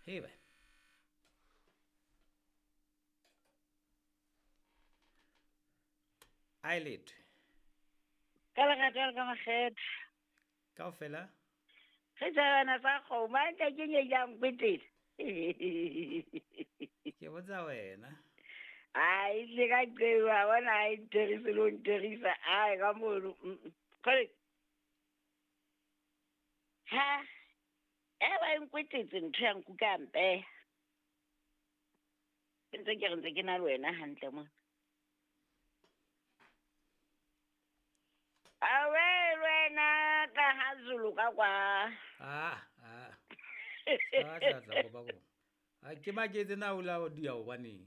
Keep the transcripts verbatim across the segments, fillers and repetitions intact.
He ba. Eyelid. Ka lerato le ka makgethe. Kaofela? Re tsebana sa kgomo, a nka ke nye jang kwetela. Ke botsa wena. Ai, le ka qewa bona ai ntherise le ho ntherisa. Ai ka mono. Kgole. Ha. E ba nkwetetse ntho ya nkuka mpe. Ke ntse ke re ntse ke na le wena hantle mona. Awe wena ka ha Zulu ka kwa. Ah ah. Sa tla tla go ba go. A ke maketse na o la di ya o baneng.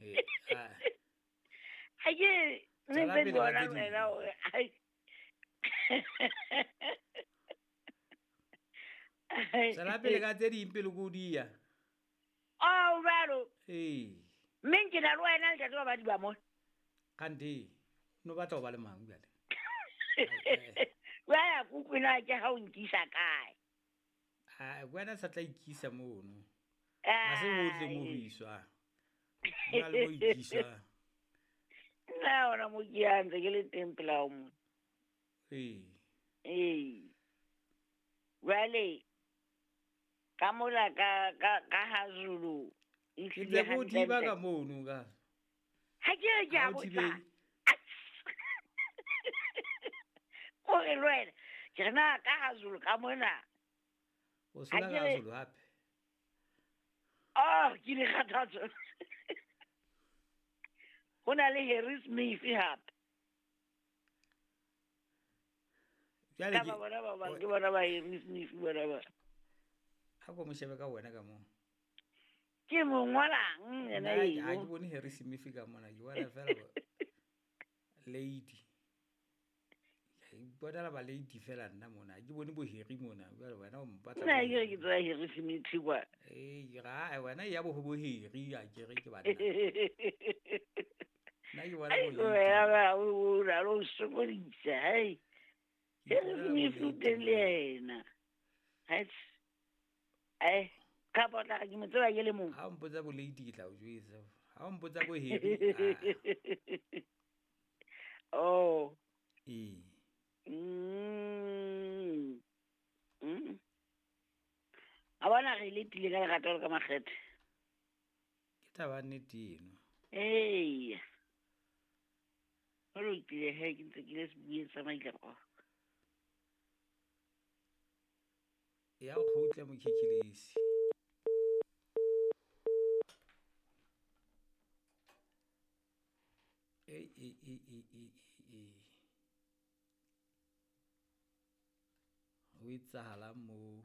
Eh ah. Ha ke ne ntse bona wena o ai. Tswela pele ka tse ding pele ko di ya. Oh balo. Eh. Mme ke na le wena ntate ba ba di ba mo. Kante no batla ho ba le mang bjale? Wa ya kukwena ke ha o nkisa kae? Ah, wena sa tla ikisa mono. Ha se hotle mo ho iswa. Nna le mo ikiswa. Nna ona mo ke ya ntse ke le teng pela o mo. Ee. Ee. Jwale ka mola ka ka ka ha Zulu. Ke ntse ko thiba ka mono ka. Ha ke re ke a botsa. Ore le wena ke re na ka ha Zulu ka mona. O sola ka Zulu hape. Oh, ke le kgathatso. Ho na le Harry Smith hape. Jwale ke bona ba bang ke bona ba Harry Smith bona ba. Ha ko mo shebe ka wena ka mo. Ke mo ngwalang yena eo. Ha ke bone Harry Smith ka mona, ke bona fela lady. Bona la ba lady fela nna mona, ke bone bo Harry mona, jwale wena o mpatla. Nna ke ke tswa Harry Smith kwa. Eh, ga wena ya bo bo Harry a ke re ke banna. Nna ke bona bo lady. Ai ba o ra lo sokodisa, hey. Harry Smith o teng le yena. Hai. Eh, ka botla ke mo tseba ke le mong. Ha o mpotsa bo lady ke tla o jwetsa. Ha o mpotsa bo Harry. Oh. Eh. Mm. Mm. A bona re le tile ka lerato le ka makgethe. Ke taba nnete eno. Ee. Ho lokile he ke ntse ke le sebueng sa maikako. Ya o kgutla mokhikhilisi. E e e e e e. Ho etsahala mo.